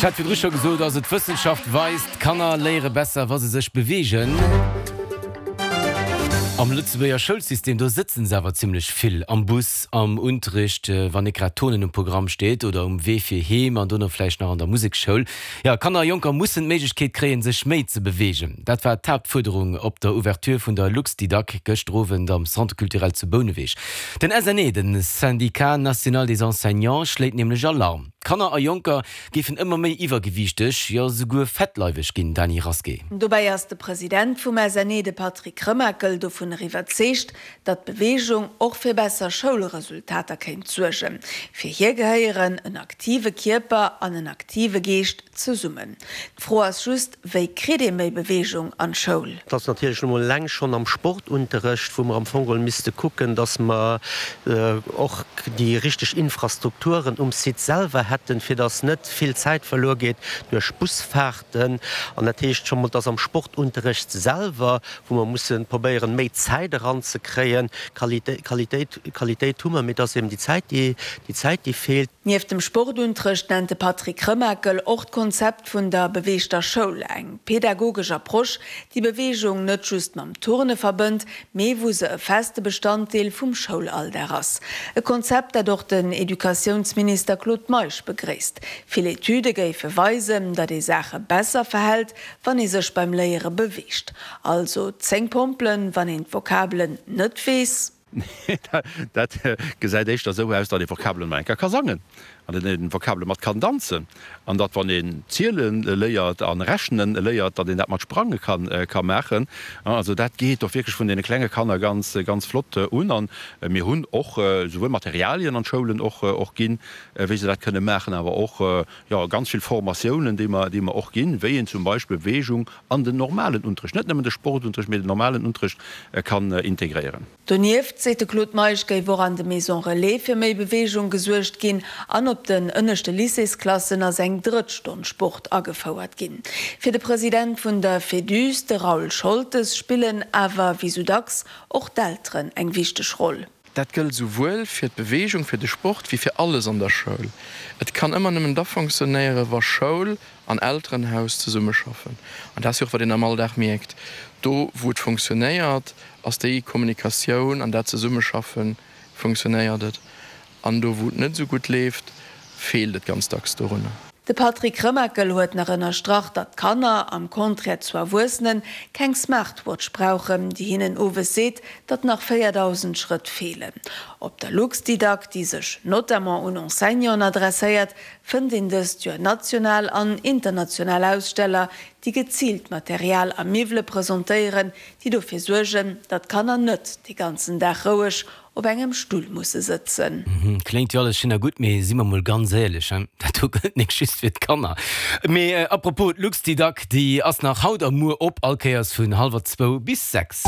Ech hat virdru scho gesot, also d'Wëssenschaft weist, Kanner léiere besser, wa se sech beweegen. Am Lëtzebuerger Schoulsystem, do sëtzen se awer zimmlech vill am Bus, am Unterricht, wann net grad Turnen um Programm steet, oder um Wee fir heem an dono vläicht nach an der Museksschoul. Jo, Kanner a Jonker mussen d'Méiglechkeet kréien, sech méi ze beweegen. Dat war d'Haaptfuerderung op der Ouverture vun der Luxdidac gëschter Owend am Centre culturel zu Bouneweg. Den SNE, de Syndicat national des enseignants, schléit nämlech Alarm. Kanner a Jonker géifen ëmmer méi iwwergewiichteg, jo souguer fettleiweg ginn, Dany Rasqué. Dobäi ass de President vum SNE, de Patrick Remakel, dovunner iwwerzeegt, datt Beweegung och fir besser Schoulresultater kéint suergen. Fir hie gehéieren en aktive Kierper an en aktive Geescht zesummen. D'Fro ass just, Wéi kritt ee méi Beweegung an d'Schoul? Et ass natierlech nu mol eleng schonn am Sportunterrecht, wou mer am Fong geholl misste kucken, dass mer och déi richteg Infrastrukturen um Site selwer hätten, fir dass net vill Zäit verluer geet duerch Busfahrten. An dat heescht scho mol, dass am Sportunterrecht selwer, wou mer musse probéieren, méi Zäit eranzekréien, Qualitéit, Qualitéit hu mer, mee et ass eben déi Zäit, déi, déi Zäit, déi feelt. Nieft dem Sportunterrecht nennt de Patrick Remakel och d'Konzept vun der beweegter Schoul, eng pedagogesch Approche, déi Beweegung net just mam Turne verbënnt, mee wou se e feste Bestanddeel vum Schoulalldag ass. E Konzept, dat och den Educatiounsminister Claude Meisch begréisst. Vill Etüde géife weisen, datt ee Saache besser verhält, wann ee sech beim Léiere beweegt. Also 10 Pompelen, wann een d'Vokabelen net weess. Nee, dat gesäit éischter esou aus, datt ee Vokabelen mol eng Kéier ka sangen an datt een Vokabele mat kann danzen an datt, wann een ziele léiert a rechnen léiert, datt een dat mat sprange ka maachen. Also dat geet och wierklech vun deene klenge Kanner ganz, ganz flott un. An mir hunn och esouwuel Materialien an d'Schoulen och ginn, wéi se dat kënne maachen, awer och, jo, ganz vill Formatiounen, déi mer, déi mer och ginn, wéi een zum Beispill Beweegung an den normalen Unterrecht, net nëmmen de Sportunterrecht, mee den normalen Unterrecht kann integréieren. Donieft, seet de Claude Meisch, géif och an de Maisons Relais fir méi Beweegung gesuergt ginn an op den ënneschte Lycéesklassen ass eng drëtt Stonn Sport agefouert ginn. Fir de President vun der Féduse, de Raoul Scholtes, spillen awer, wéi sou dacks, och d'Elteren eng wichteg Roll. Dat gëllt esouwuel fir d'Beweegung, fir de Sport, wéi fir alles an der Schoul. Et kann ëmmer nëmmen da fonctionnéieren, wa Schoul an Elterenhaus zesummeschaffen. An dat ass jo och, wat een am Alldag mierkt. Do, wou et fonctionnéiert, ass déi Kommunikatioun an dat Zesummeschaffen, fonctionnéiert et. An do, wou et net esou gutt leeft, feelt et ganz dacks dorunner. De Patrick Remakel huet nach ënnerstrach, datt Kanner, am Contraire zu Erwuessenen, keng Smartwatch brauchen, déi hinnen owes seet, datt nach 4.000 Schrëtt feelen. Op der Luxdidac, déi sech notamment un Enseignanten adresséiert, fënnt een dëst Joer national an international Aussteller, déi geziilt Material a Miwwele presentéieren, déi dofir suergen, datt d'Kanner net de ganzen Dag roueg op engem Stull musse sëtzen. Kléngt jo alles schéin a gutt, mee si mer mol ganz éierlech, hein, dat do gëllt nik just fir d'Kanner. Mee apropos, d'Luxdidac, déi ass nach haut a muer op, all Kéiers vun hallwer zwou bis 6.